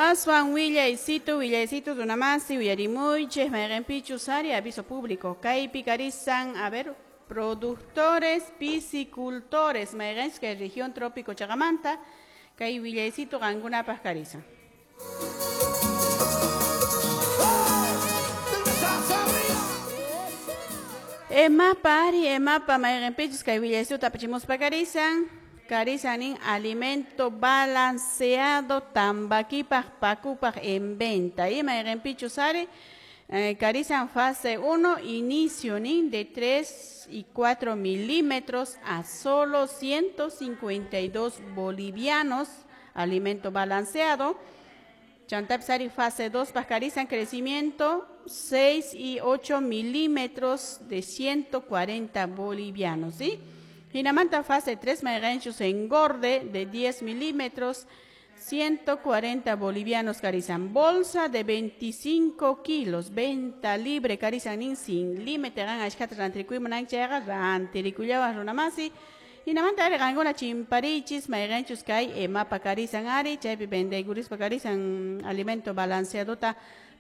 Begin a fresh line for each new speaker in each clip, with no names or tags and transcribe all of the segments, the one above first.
Aswan willaysitu, willaysitu runamasi, uyarimuychis, mayqinpichus ari aviso público. Kaypi karisan, a ver, productores, piscicultores, mayqinchus kay región trópico chaqamanta, kay willaysitu qankunapaq karisan. Emapa ari, emapa mayqinpichus kay willaysitu apachimuspa karisan. Karisanin alimento balanceado tambakipaq pakupaq en venta. Y mayqinpichus ari, karisan fase 1, inicio nin de 3 y 4 milímetros a solo 152 bolivianos, alimento balanceado. Chantapsari fase 2, pajarisan crecimiento 6 y 8 milímetros de 140 bolivianos, ¿sí? Hinamanta fase 3, mayqinchus engorde de 10 milímetros, 140 bolivianos karizan. Bolsa de 25 kilos, venta libre karizan nin sin límite, gan ashkata rantirikuy munanchayqa rantirikullawan runamasi. Hinamanta ari qankuna chimparichis, mayqinchus kay emapa karizan ari, chaypi vendaykurispa karizan alimento balanceadota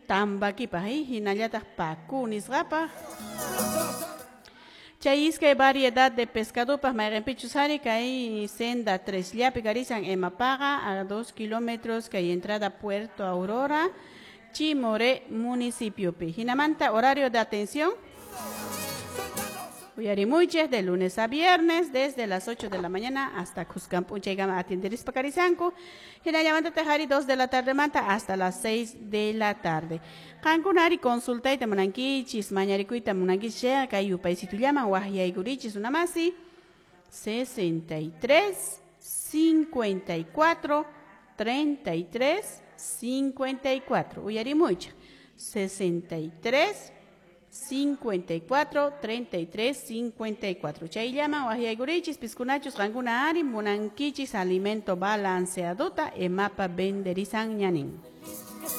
tambakipaq, hinallataq paku nisqapaq. Chay iskay variedad de pescadopaq mayqinpichus ari kay senda 3 llapi karizan emapaqa a 2 kilómetros kay entrada Puerto Aurora, Chimoré municipiopi. Hinamanta horario de atención. Uyarimuychis de lunes a viernes desde las 8 de la mañana hasta Cuscampunchaykama atenderispa karizanku. Hinallamanta tajari 2 de la tarde manta hasta las 6 de la tarde. Qankunari consultayta munankichis, mañarikuyta munankichis chayqa kay yupaysitullaman waqyaykurichis unamasi 63 54 33 54. Uyarimuychis 63 54 33 54. Chayllaman waqyaykurichis piskunachus qankuna ari munankichis alimento balanceadota emapa venderizan ñanin.